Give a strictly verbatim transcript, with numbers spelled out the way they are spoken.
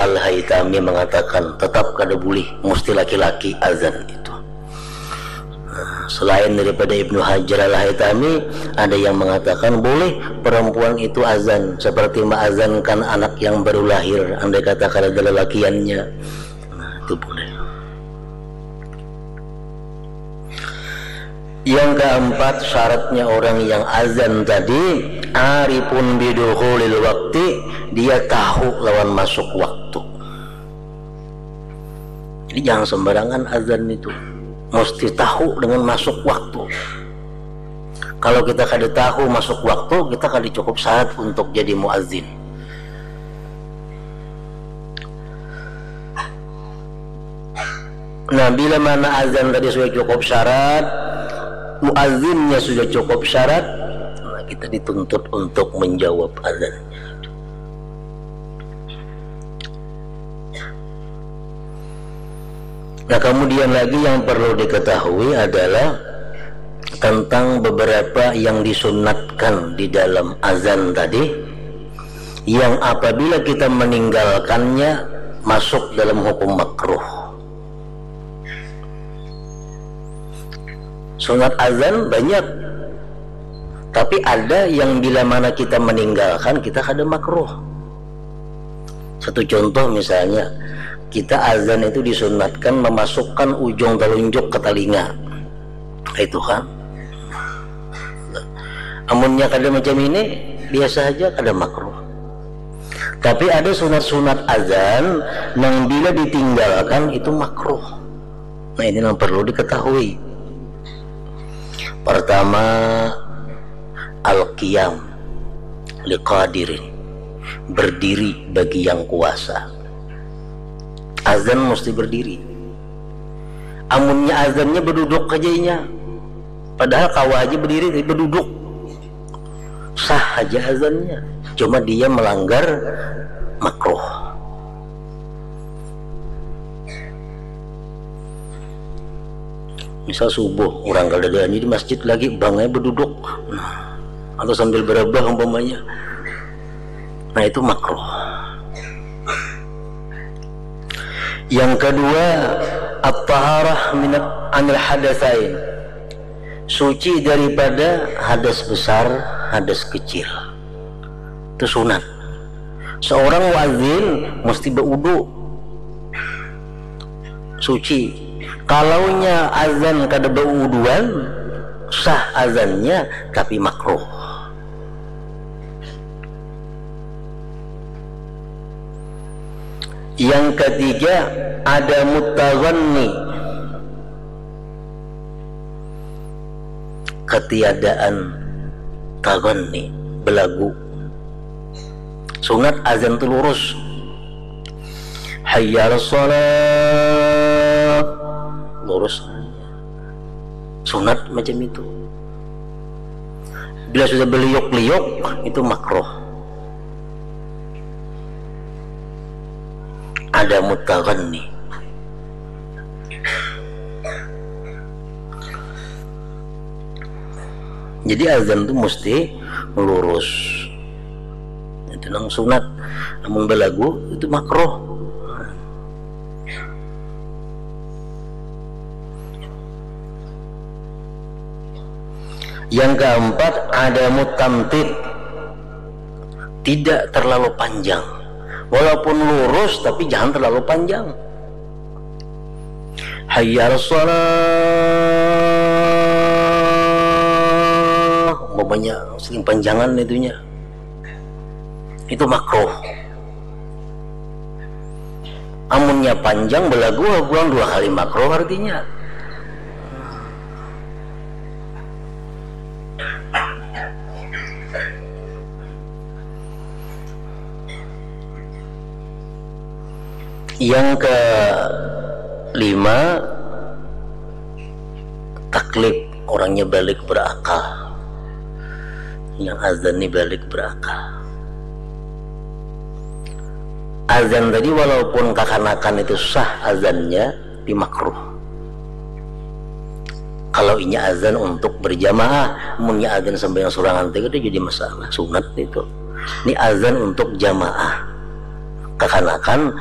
Al-Haytami mengatakan tetap kada boleh, mesti laki-laki azan itu. Nah, selain daripada Ibnu Hajar Al-Haytami, ada yang mengatakan boleh perempuan itu azan, seperti meazankan anak yang baru lahir, andai kata kada ada lelakiannya. Nah, itu boleh. Yang keempat, syaratnya orang yang azan tadi, arifun bidukhulil wakti, dia tahu lawan masuk waktu. Jadi jangan sembarangan azan itu, mesti tahu dengan masuk waktu. Kalau kita kada tahu masuk waktu, kita kada cukup syarat untuk jadi muazin. Nah, bila mana azan tadi sudah cukup syarat, muazinnya sudah cukup syarat, nah, kita dituntut untuk menjawab azannya. Nah, kemudian lagi yang perlu diketahui adalah tentang beberapa yang disunatkan di dalam azan tadi, yang apabila kita meninggalkannya, masuk dalam hukum makruh. Sunat azan banyak, tapi ada yang bila mana kita meninggalkan, kita kada makruh. Satu contoh misalnya, kita azan itu disunatkan memasukkan ujung telunjuk ke telinga. Itu kan. Amunnya kada macam ini, biasa aja, kada makruh. Tapi ada sunat-sunat azan nang bila ditinggalkan itu makruh. Nah, ini yang perlu diketahui. Pertama, al-qiyam liqadirin, berdiri bagi yang kuasa. Azan mesti berdiri. Amunnya azannya beduduk aja inya, padahal kawa aja berdiri, tapi beduduk, sah aja azannya. Cuma dia melanggar makruh. Misal subuh, orang kada ada di masjid lagi, bangai beduduk, nah, atau sambil berebah umpamanya, nah, itu makruh. Yang kedua, at-taharah minat anil hadasain, suci daripada hadas besar, hadas kecil. Itu sunat. Seorang muazin mesti baudu, suci. Kalaunya azan kada bauduan, sah azannya, tapi makruh. Yang ketiga, ada mutaghanni, ketiadaan taghanni, belagu. Sunat azan tu lurus. Hayya 'alas shalah, lurus. Sunat macam itu. Bila sudah beliuk-liuk, itu makruh. Ada mutaghanni. Jadi azan tu mesti lurus. Itu nang sunat. Amun belagu itu makruh. Yang keempat, ada mutamtid, tidak terlalu panjang. Walaupun lurus, tapi jangan terlalu panjang. Hayya 'alas shalah, umpamanya sering panjangan itunya, itu makruh. Amunnya panjang belagu, pulang dua kali makruh artinya. Yang kelima, taklif, orangnya balik berakal. Yang azan ni balik berakal. Azan tadi walaupun kakanakan itu sah azannya, tapi makruh. Kalau inya azan untuk berjamaah, munnya azan sambil sorangan tadi itu jadi masalah, sunat itu. Ini azan untuk jamaah. kakanakan